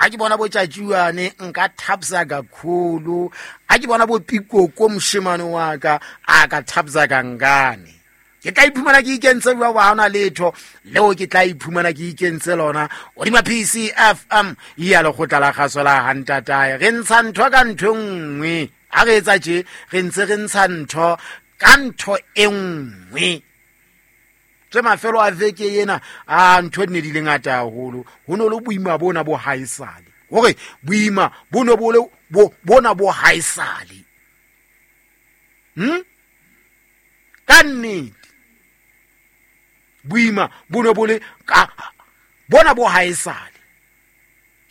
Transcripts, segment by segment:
Ga ke bona botšatšiwane nka thapsa kakhulu, ga ke bona bopikoko mošemane wa ka a ka thapsa kankane. Ke tla iphumana ke ikentse bja ba gona letho leo, ke tla iphumana ke ikentse lona godima PCFM ya lekgotla la kgaso la gantatae. Re ntsha ntho ka ntho e nngwe, ga re etsa tše re ntse re ntsha ntho ka ntho e nngwe. Tse mafelo a veke ena a ntho di ne di le ngata haholo, ho ne le boima bona bo haesale, hore boima bo ne bo le bona bo haesale. Ka nnete boima bo ne bo le ka bona bo haesale.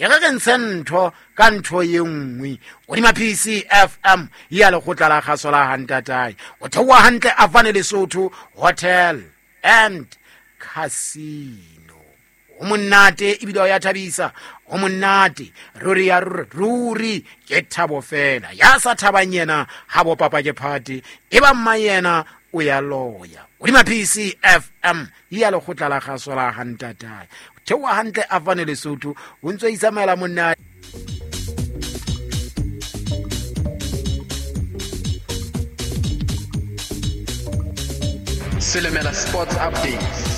E re re ntshe ntho ka ntho ye nngwe godima PCFM ya lekgotla la kgaso la gantatae. O theoa hantle Afane Lesotho Hotel and Casino. Go monate ebile o ya thabisa, go monate ruri ya ruri, ke thabo fela. Ya sa thabang yena ga bo papa ke phate, e ba mma yena o ya loya. Godima PCFM ya lekgotla la kgaso la gantatae, theoa hantle Afane Lesotho, o ntse o itsamaela monna. Selemela Sports Updates.